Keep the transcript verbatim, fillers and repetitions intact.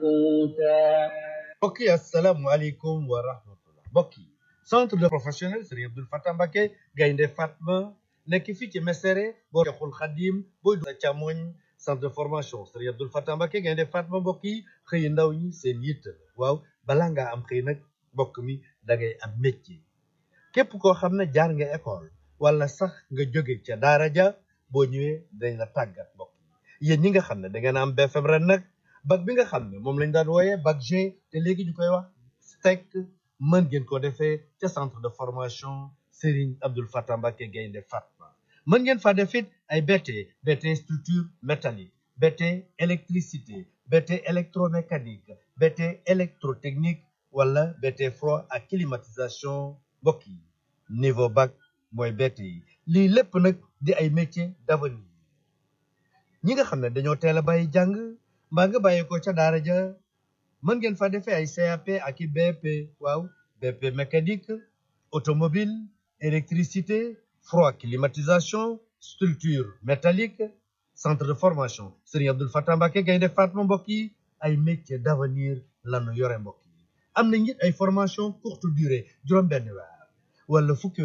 قوتا. mbokk yi asalaamualeykum wa rahmatullah mbokk yi centre de professionnel Serigne Abdoul Fatah Mbacké Gaynde Fatma nekk fii ci Mesere boo Cheikhul Khadim booy du càmmoñ centre de formation Serigne Abdoul Fatah Mbacké Gaynde Fatma mbokk yi xëy ndaw ñi seen yitt la waaw balaa ngaa am xëy nag mbokk mi da ngay am métier képp koo xam ne jaar nga école wala sax nga jóge ca daara ja boo ñëwee dañ la tàggat mbokk yi yéen ñi nga xam ne da ngeen am B F M ren nag bac bi nga xam ne moom lañ daan wooyee bac G te léegi ñu koy wax STEC mën ngeen ko defee ca centre de formation Serigne Abdoul Fatah Mbacké Gaynde Fatma mën ngeen fa def it ay B T B T structure métallique B T électricité B T électromécanique B T électrotechnique wala B T froid ak climatisation mbokk yi niveau bac mooy B T yi lii lépp nag di ay métiers d'avenir ñi nga xam ne dañoo teel a bàyyi jàng mbaa nga bàyyi ko ca daara ja mën ngeen fa defee ay C A P ak i B P waaw B P mécanique automobile électricité froid climatisation structure métallique centre de formation Serigne Abdoul Fatah Mbacké Gaynde Fatma mbokk yi ay métiers d'avenir lanu yore mbokk yi am na it ay formation courte durée juróom benn weer wala fukki